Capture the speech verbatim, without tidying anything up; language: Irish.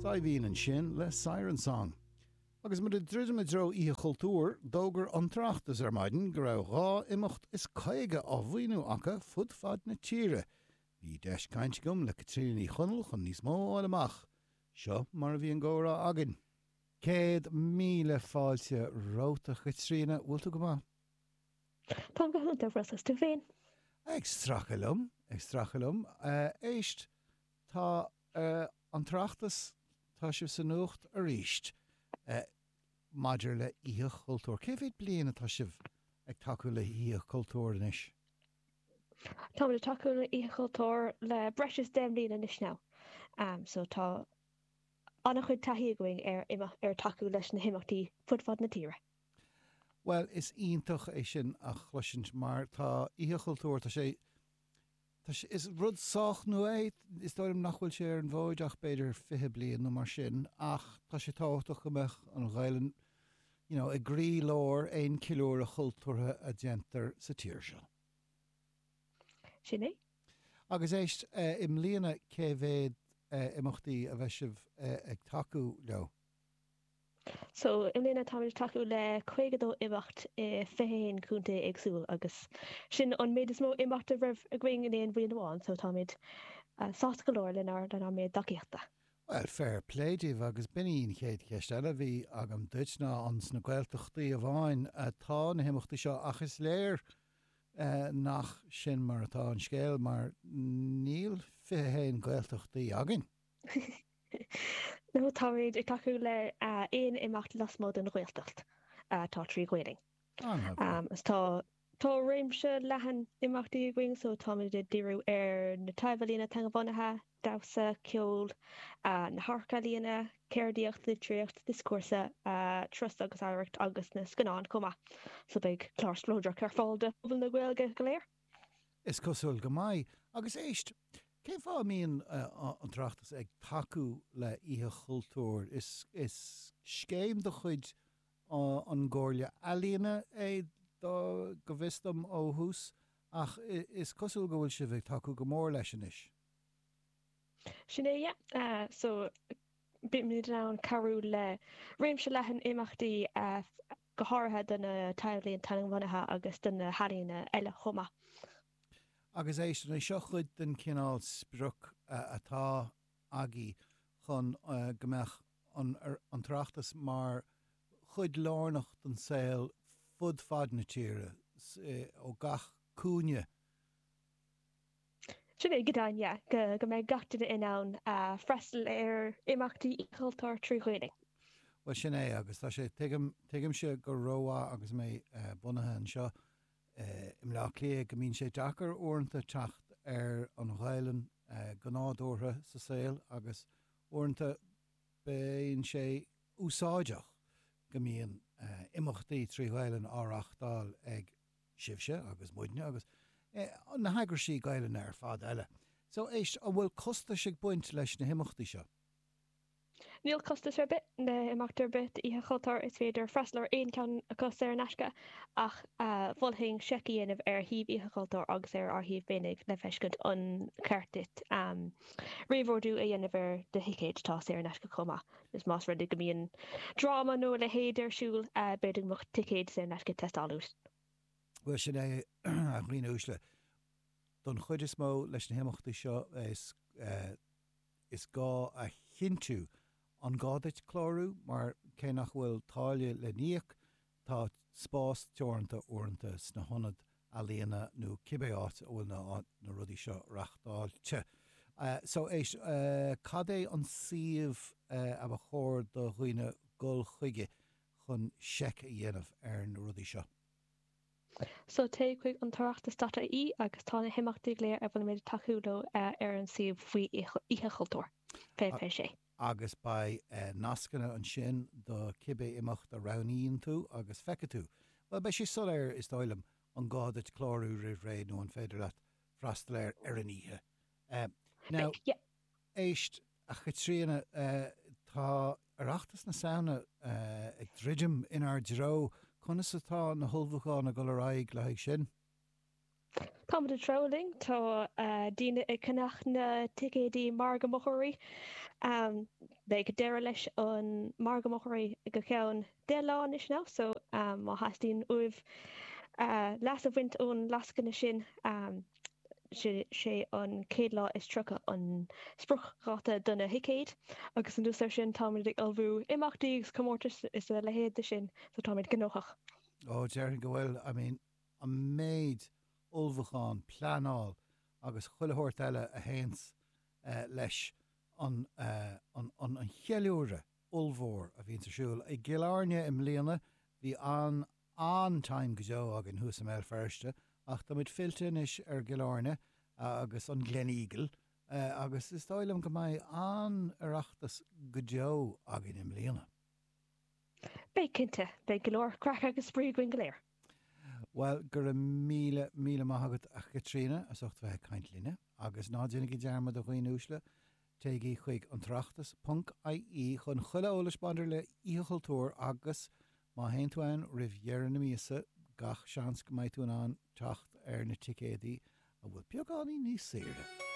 Saidhbhín ansin le Siren Song. Agus muid ag druidim i dtreo Oíche Chultúir, d'fhógair an tOireachtas ar maidin go raibh dhá imeacht is caoga á mhaoiniú acu fud fad na tíre. Bhí deis caint agam le Caitríona Ní Chonaill chun níos mó a fháil amach. Seo mar a bhí an gcomhrá againn. Céad míle fáilte romhat, a Chaitríona, bhfuil tú go maith? Táim go hiontach, Russ, tú féin? Ag stracadh liom, ag stracadh liom. Éist, tá an tOireachtas, tá sibh sa nuacht arís maidir le Oíche Chultúir. Cé mhéad bliain atá sibh ag tacú le hOíche Chultúir anois? Táimid ag tacú le Oíche Chultúir le breis is deich mbliana anois now. So tá an-chuid taithí againn ar ar tacú leis na himeachtaí fud fad na tíre. Bhuel, is iontach é sin a chloisint mar tá Oíche Chultúir, tá sé, tá sé, is rud sách nua é, is dóigh liom nach bhfuil sé ar an bhfód ach b'fhéidir fiche bliain nó mar sin, ach tá sé tábhachtach go mbeadh an Ghaelainn, you know, i gcroílár aon ceiliúradh chultúrtha a déantar sa tír seo. Sin é. Agus éist, i mbliana cé mhéad imeachtaí a bheidh sibh ag tacú leo? So, i mbliana táimid ag tacú le caoga dó imeacht i fiche a haon contae éagsúil agus sin an méid is mó imeacht a raibh againn in aon bhliain amháin, so táimid sásta go leor lenár lenár méid tacaíochta. Bhuel, fair play daoibh agus b'in í an chéad cheist eile a bhí agam duit ná an sna Gaeltachtaí amháin atá na himeachtaí seo ach is léir nach sin mar atá an scéal mar níl fiche a haon Gaeltachtaí againn. No, táimid ag tacú le aon imeacht lasmuigh den Ghaeltacht atá trí Ghaelainn. Agus tá tá réimse leathan imeachtaí againn, so táimid ag díriú ar na taibh-ealaíona teangabhunaithe, damhsa, ceol, na hamharc-ealaíona, ceardaíocht, litríocht, dioscúrsa, turas agus oidhreacht agus na scannáin chomh maith. So beidh clár spleodrach ar fáil do phobal na Gaeilge go léir. Is cosúil go mbeidh. Agus éist, cén fáth a mbíonn an tOireachtas ag tacú le Oíche Chultúir? Is is scéim de chuid an gComhairle Ealaíona é go bhfios dom ó thús, ach is cosúil go bhfuil sibh ag tacú go mór leis anois. Sin é, yeah. So bímid in ann cabhrú le réimse leathan imeachtaí, go háirithe do na taibh-ealaíona teangabhunaithe agus do na healaíona eile chomh maith. Agus éist, an é seo chuid den chineál sprioc atá agaibh chun go mbeadh an an tOireachtas mar chuid lárnach den saol fud fad na tíre, ó gach cúinne? Sin é go deimhin, yeah, go go mbeidh gach duine in ann freastal ar imeachtaí cultúir trí Ghaeilge. Bhuel, sin é, agus tá sé, tuigim, tuigimse go rómhaith agus mé bunaithe anseo i mBleá Cliath go mbíonn sé deacair uaireanta teacht ar an Ghaelainn go nádúrtha sa saol agus uaireanta bíonn sé úsáideach go mbíonn imeachtaí trí Ghaelainn á reáchtáil ag sibhse agus muidne agus na heagraisí Gaelainne ar fad eile. So éist, an bhfuil costais ag baint leis na himeachtaí seo? Níl costas ar bith le himeacht ar bith d'Oíche Chultúir, is féidir freastal ar aon cheann acu saor in aisce, ach mholfainn seic a dhéanamh ar shuíomh Oíche Chultúir agus ar ár shuíomh féinig le feiscint an ceart duit réamhordú a dhéanamh ar do thicéid, atá saor in aisce chomh maith, agus más rud é go mbíonn dráma nó a leithéid ar siúl, b'fhéidir go mbeadh ticéid saor in aisce ag teastáil uait. Bhuel, sin é, a dhaoine uaisle. Don chuid is mó leis na himeachtaí seo, is. is gá a chinntiú an gá duit clárú mar cé nach bhfuil táille le n-íoc, tá spás teoranta uaireanta sna hionaid ealaíona nó cibé áit a bhfuil na na rudaí seo reachtáilte. So éist, cad é an suíomh a ba chóir do dhaoine dul chuige chun seic a dhéanamh ar na rudaí seo? So téigh chuig an tOireachtas dot ie agus tá na himeachtaí go léir a bhfuilimid ag tacú leo ar an suíomh faoi Oíche Chultúir, fiche fiche sé. Agus beidh nascanna ansin do cibé imeacht a roghnaíonn tú agus feicfidh tú, bhuel, beidh sé soiléir, is dóigh liom, an gá duit clárú roimh ré nó an féidir leat freastal air ar an oíche. Now, Beidh, yeah. Éist, a Chaitríona, tá Oireachtas na Samhna ag druidim inár dtreo. Conas atá na hullmhúcháin ag dul ar aghaidh le haghaidh sin? Táimid ag treabhadh linn, tá daoine ag ceannach na ticéidí margadh mochóirí. Beidh deireadh leis an margadh mochóirí go ceann deich lá anois now so má theastaíonn uaibh leas a bhaint ón lascaine sin, sé an chéad lá is tríocha an spriocdháta do na thicéid agus anuas air sin táimid ag ullmhú imeachtaí agus comórtais is a leithéid de sin so táimid gnóthach. Ó, déarfainn go bhfuil, I mean, an méid ullmhúchán, pleanáil agus chuile shórt eile a théanns leis an an cheiliúradh ollmhór a bhíonns ar siúl i gCill Airne i mbliana. Bhí an an-time go deo againn thuas i mBéal Feirste ach táimid fillte anois ar gCill Airne agus an Gleneagle agus is dóigh liom go mbeidh an-Oireachtas go deo againn i mbliana. Beidh cinnte, beidh go leor craic agus spraoi againn go léir. Bhuel, go raibh míle, míle maith agat a Chaitríona as ucht bheith ag caint linne agus ná déanaigí dearmad a dhaoine uaisle, téigí chuig an tOireachtas ponc ie chun chuile eolais maidir le Oíche Chultúir agus má théann tú ann roimh dheireadh na míosa gach seans go mbeidh tú in ann teacht ar na ticéadaí a bhfuil beagáinín níos saoire.